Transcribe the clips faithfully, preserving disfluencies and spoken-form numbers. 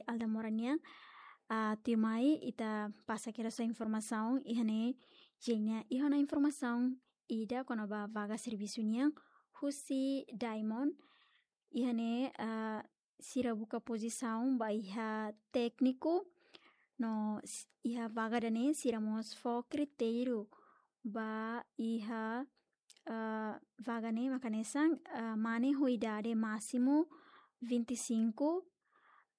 Aldamora nian. Ah, tuirmai ita pasa kedas informasaun iha ne'e, Jenia, iha ona informasaun ida kona-ba vaga servisu nian husi Diamond. Iha ne'e, ah, sira buka pozisaun ba iha tékniku, no s-, iha vaga ida-ne'e sira mós fó kritériu ba iha, ah, vaga ne'e maka hanesan, ah, mane ho idade másimu vinte e cinco,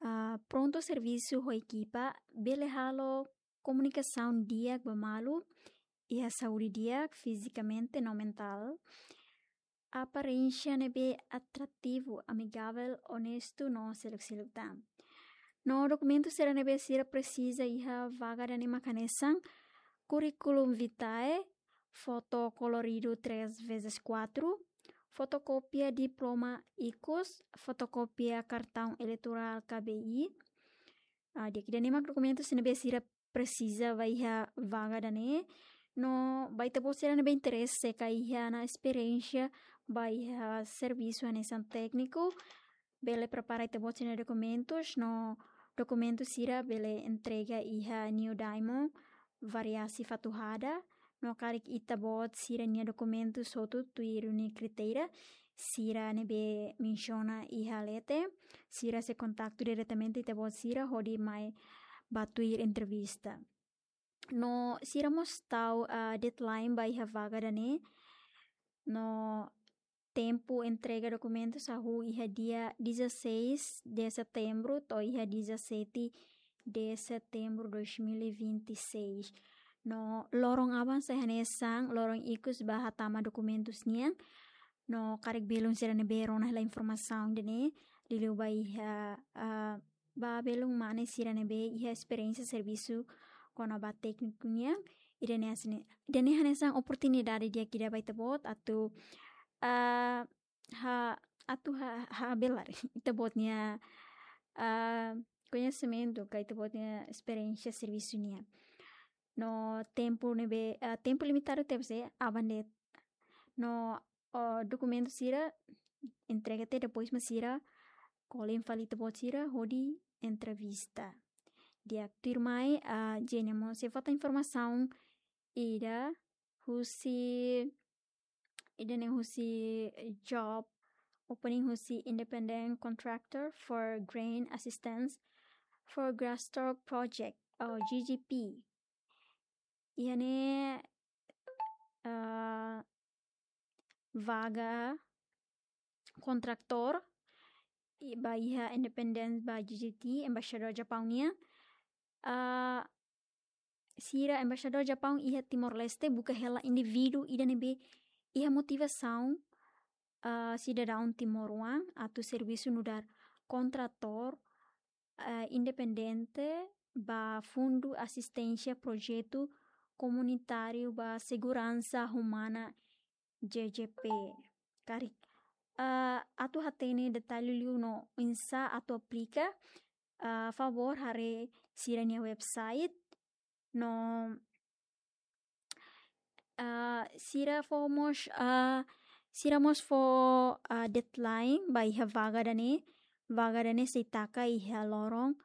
ah, prontu servisu ho ekipa, bele halo komunikasaun di'ak ba malu, iha saúde di'ak fizikamente no mentál, aparénsia ne'ebé atrativu, amigável, onestu no seluk-seluk tan. No dokumentu sira ne'ebé sira presiza iha vaga ida-ne'e maka hanesan currículum vitae, foto koloridu três vezes quatro, fotokópia diploma ikus, fotokópia kartaun eleitorál K B I. Ah, di'ak, ida-ne'e mak dokumentu sira ne'ebé sira presiza ba iha vaga ida-ne'e. No ba ita-boot sira ne'ebé interese ka iha ona esperiénsia ba iha servisu hanesan tékniku, bele prepara ita-boot sira-nia dokumentus, no dokumentu sira bele entrega iha New Diamond, Variasi Fatuhada, no karik ita-boot sira-nia dokumentus hotu tuir ninia kritéria sira ne'ebé mensiona iha leten, sira sei kontaktu diretamente ita-boot sira hodi mai ba tuir entrevista. No sira mós tau, ah, deadline ba iha vaga ida-ne'e. No tempu entrega dokumentus hahú iha dia dezasseis de setembro to'o iha dezassete de setembro dois mil e vinte e seis. No loron aban sai hanesan loron ikus ba hatama dokumentus nian. No karik belun sira ne'ebé rona hela informasaun ida-ne'e, liuliu ba iha, ah, ba belun mane sira ne'ebé iha esperiénsia servisu kona-ba tékniku nian, ida-ne'e hanesan, ida-ne'e hanesan oportunidade di'ak ida ba ita-boot atu, ah, ha, atu ha, habelar ita-boot nia, ah, koñesimentu ka ita-boot nia esperiénsia servisu nian. No tempu ne'ebé, ah, tempu limitadu tebes, aban de'it. No, oh, dokumentu sira entrega tiha, depois mak sira kolen fali ita-boot sira hodi entrevista. Di'ak, tuirmai, ah, Jenia mós sei fó tan informasaun ida husi, ida-ne'e husi job opening husi Independent Contractor for Grant Assistance for Grasstalk Project, ou G G P. Iha ne'e, ah, vaga kontratór, i ba iha independente ba G G T, Embaixadór Japaun nian. Ah, sira Embaixadór Japaun iha Timor-Leste buka hela indivíduu ida ne'ebé iha motivasaun, ah, sidadaun timoroan atu servisu nu'udar kontratór, ah, independente ba Fundu Asisténsia Projetu Komunitáriu ba Seguransa Umana, G G P. Karik, ah, atu hatene detalle liu no oinsá atu aplika, ah, favór haree sira-nia website. No, ah, sira fó mós, ah, sira mós fó, ah, deadline ba iha vaga ida-ne'e, vaga ida-ne'e sei taka iha loron,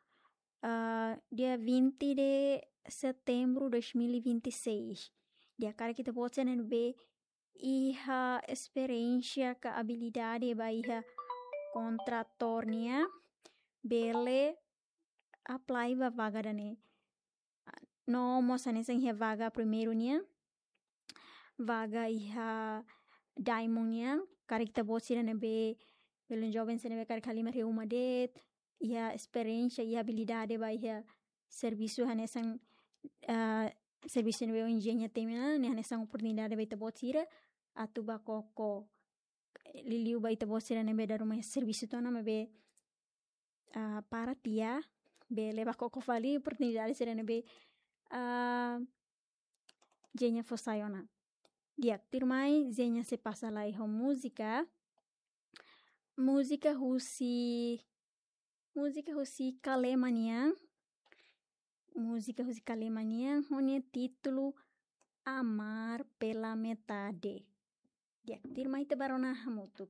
ah, dia vinte de setembro dois mil e vinte e seis. Di'ak, karik ita-boot sira ne'ebé iha esperiénsia ka abilidade ba iha kontratór nian, bele apply ba vaga ida-ne'e. No mós hanesan iha vaga primeiru nian, vaga iha Diamond nian, karik ita-boot sira ne'ebé, belun joven sira ne'ebé karik halimar iha uma de'it, iha esperiénsia, iha abilidade ba iha servisu hanesan, ah, servisu ne'ebé ohin Jenia temi ona, ne'e hanesan oportunidade ba ita-boot sira atu bá koko, liuliu ba ita-boot sira ne'ebé dala ruma servisu tiha ona maibé, ah, para tiha, bele bá koko fali oportunidade sira ne'ebé, ah, Jenia fó sai ona. Di'ak, tuirmai Jenia sei pasa lai ho múzika. Múzika husi, múzika husi Kalema nian. Múzika husi Kalema nian ho nia títulu Amar pela Metade. Di'ak, tuirmai ita bá rona hamutuk.